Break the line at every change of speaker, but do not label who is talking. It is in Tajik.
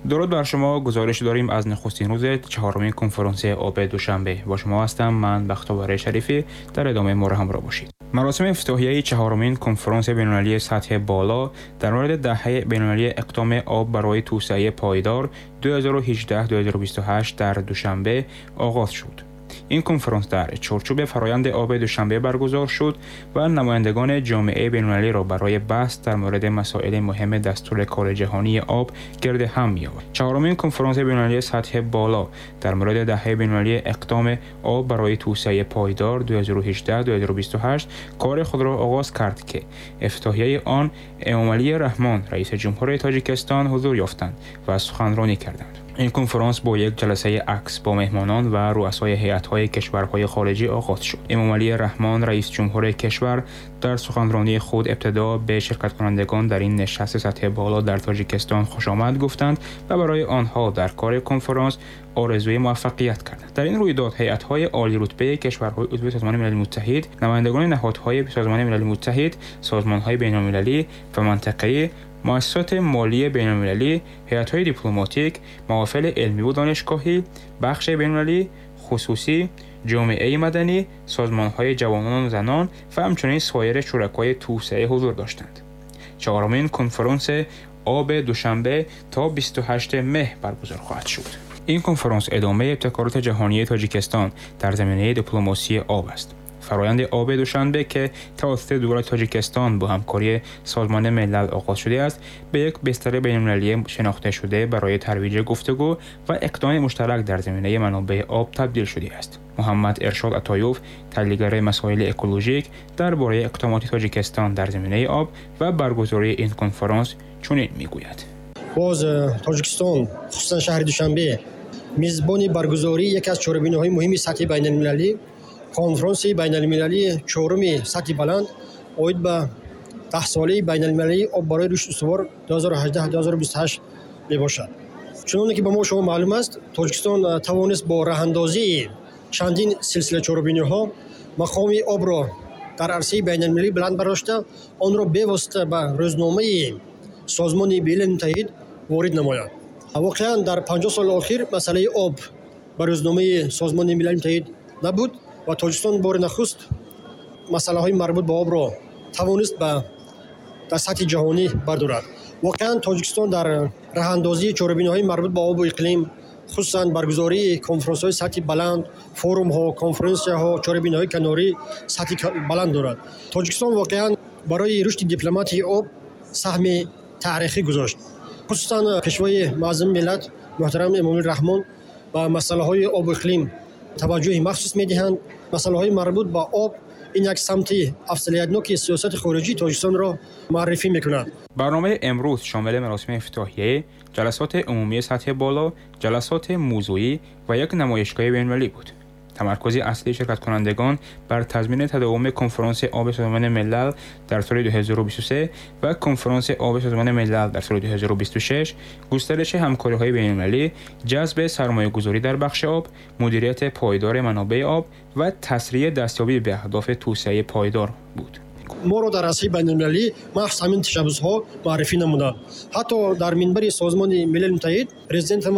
Дуруд бар шумо. Гузориш дорем аз нахустин рӯзи чаҳорумин конфронси оби Душанбе. Бо шумо ҳастам ман, Бахтовар Шарифӣ. Дар идома моро ҳамроҳ бошед. Маросими ифтитоҳияи чаҳорумин конфронси байналмилалии сатҳи боло дар мавриди даҳаи байналмилалии иқдоми об барои توسعه پایدار 2018-2028 در دوشنبه آغاز شد. این کنفرانس در چارچوب فرایند آب دوشنبه برگزار شد و نمایندگان جامعه بین‌المللی را برای بحث در مورد مسائل مهم دستور کار جهانی آب گرد هم می‌آورد. چهارمین کنفرانس بین‌المللی سطح بالا در مورد دهه بین‌المللی اقدام آب برای توسعه پایدار 2018-2028 کار خود را آغاز کرد که افتتاحیه آن امامعلی رحمان، رئیس جمهور تاجیکستان، حضور یافتند و سخنرانی کردند. این کنفرانس با یک جلسه عکس با مهمانان و رؤسای هیئت‌های کشورهای خارجی آغاز شد. امامعلی رحمان، رئیس جمهور کشور، در سخنرانی خود ابتدا به شرکت کنندگان در این نشست سطح بالا در تاجیکستان خوش آمد گفتند و برای آنها در کار کنفرانس آرزوی موفقیت کردند. در این رویداد هیئت‌های عالی رتبه کشورهای عضو سازمان ملل متحد، نمایندگان نهادهای سازمان ملل متحد، سازمان‌های بین‌المللی و منطقه‌ای، مؤسسات مالی بین‌المللی، هیئت‌های دیپلماتیک، محافل علمی و دانشگاهی، بخش بین‌المللی، خصوصی، جامعه مدنی، سازمان‌های جوانان و زنان و همچنین سایر شرکای توسعه حضور داشتند. چهارمین کنفرانس آب دوشنبه تا 28 مه برگزار خواهد شد. این کنفرانس ادامه ابتکارات جهانی تاجیکستان در زمینه دیپلماسی آب است. فرایند آب دوشنبه که توسط دولت تاجیکستان با همکاری سازمان ملل آغاز شده است، به یک بستر بین‌المللی شناخته شده برای ترویج گفتگو و اقدام مشترک در زمینه منابع آب تبدیل شده است. محمد ارشاد عطایوف، تحلیلگر مسائل اکولوژیک، درباره اقدامات تاجیکستان در زمینه آب و برگزاری این کنفرانس چنین میگوید:
باز تاجیکستان، خصوصا شهر دوشنبه، میزبان برگزاری یکی از چهاربینی‌های مهم سطح بین‌المللی، کنفرانس بین‌المللی چهارم سطح بلند оид ба даҳсолаи байналмилалии об барои рушди устувор 2018-2028 мебошад. Чуноне ки ба мо шумо маълум аст, Тоҷикистон тавонист бо роҳандозии чандин силсила чорабиниҳо мақоми обро дар арсаи байналмилалӣ баланд бардошта, онро бевосита ба рӯзномаи Созмони Милали Муттаҳид ворид намояд. Воқеан дар 50 соли охир масъалаи об ба рӯзномаи Созмони Милали Муттаҳид набуд ва Тоҷикистон бори нахуст масъалаҳои марбут ба обро тавонист ба дар сатҳи ҷаҳонӣ бардорад. Воқеан Тоҷикистон дар роҳандозии чорабиниҳои марбут ба обу иқлим, хусусан баргузории конфронсҳои сатҳи баланд, форумҳо, конференсияҳо, чорабиниҳои канорӣ сатҳи баланд дорад. Тоҷикистон воқеан барои рушди дипломатияи об саҳми таърихӣ гузошт. Хусусан Пешвои муаззами миллат муҳтарам Эмомалӣ Раҳмон ба масъалаҳои обу иқлим таваҷҷӯҳи махсус медиҳанд. Масъалаҳои марбут ба об ин як самти афзалиятноки сиёсати хориҷии Тоҷикистонро муаррифӣ мекунад.
барномаи имрӯз шомили маросими ифтитоҳия, ҷаласоти умумии сатҳи боло, ҷаласоти мавзӯӣ ва як намоишгоҳи байналмилалӣ буд. تمرکز اصلی شرکت کنندگان بر تضمین تداوم کنفرانس آب سازمان ملل در سال 2023 و کنفرانس آب سازمان ملل در سال 2026، گسترش همکاری‌های بین‌المللی، جذب سرمایه‌گذاری در بخش آب، مدیریت پایدار منابع آب و تسریع دستیابی به اهداف توسعه پایدار بود.
моро дар арсаи байналмилалӣ махсус ҳамин ташаббусҳо муаррифӣ намуданд. Ҳатто дар минбари Созмони Милали Муттаҳид президентамон